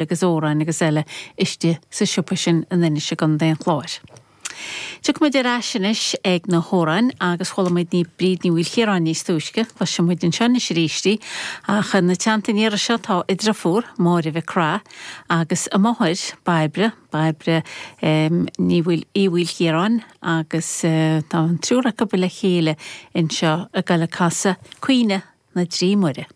Agus amhráin agus eile istigh sa siopa sin in Inis i gContae an Chláir. Tiocfaidh muid ar ais anois ag na hamhráin agus chuala muid ní Bríd Ní Mhaoilchiaráin níos túisce, cloisfidh muid anseo anois arís í, ach ina teannta an iarraidh seo tá a driofúr, Máire Mhic Craith, agus a máthair, Bairbre, Bairbre Ní Uí Mhaoilchiaráin, agus tá an triúr acu le chéile anseo ag goil ag casadh Caoineadh na dTrí Muire.